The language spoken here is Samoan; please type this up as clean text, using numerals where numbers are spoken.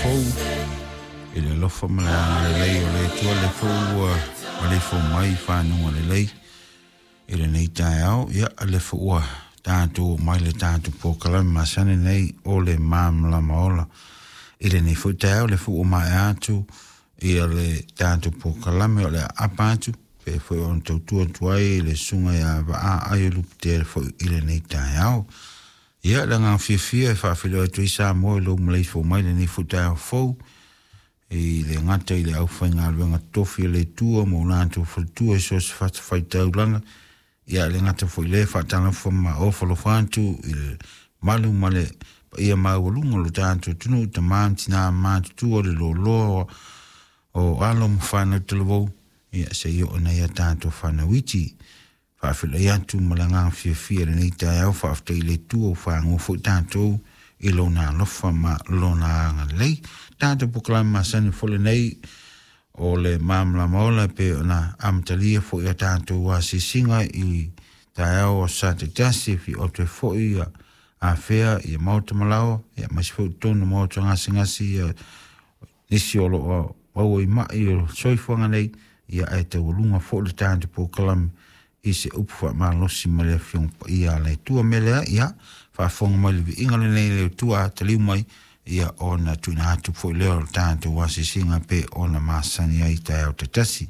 fou i le alofa ma le agalelei o le Atua, le foi ua maleifua mai i fanuga lelei i lenei taeao. Ia, le foi ua tatou mai le tatou polokalame masani nei o le Malamalama Ola i lenei foi taeao. Le foi ua maea atu ia le tatou polokalame o le aapa atu pe foi ona tautua atu ai le susuga ia Vaa Aio Lupetea foi i lenei taeao. Ia, le agaga fiafia e faafeiloai atu ai Samoa i lou maleifua mai lenei foi taeao fou i le gata i le aufaigaluega totofi a le Atua ma o latou faletua i so o se fatafaitaulaga. Ia, le gata foi le faatalofa ma ofalofa atu i le malu ma le paia maualuga o lo tatou atunuu, tama ma tina matutua, le loaloa o alo ma fanau talavou, ia se i oo nei a tatou fanau iti. Faafeiloai atu ma le agaga fiafia i lenei taeao, faafetai i le Atua ua fagoa foi tatou i lona alofa ma lona agalelei. Tatou polokalame masani foi lenei o le Malamalama Ola pe ona amatalia foi a tatou asiasiga i taeao o sa taitasi e fia oto ai foi ia afea ia maota malaoa, ia aemaise foi totonu o maota gasegase ia nisi o loo maua i mai o soifuaga nei, ia ae taualuga foi le tatou polokalame i se upu faamalosi ma le Afioga Paia a le Atua. Mea lea, ia faafofoga mai le viiga lenei le Atua a taliu mai, ia ona tuuina atu foi lea o le tatou asiasiga pe ona masani ai taeao taitasi.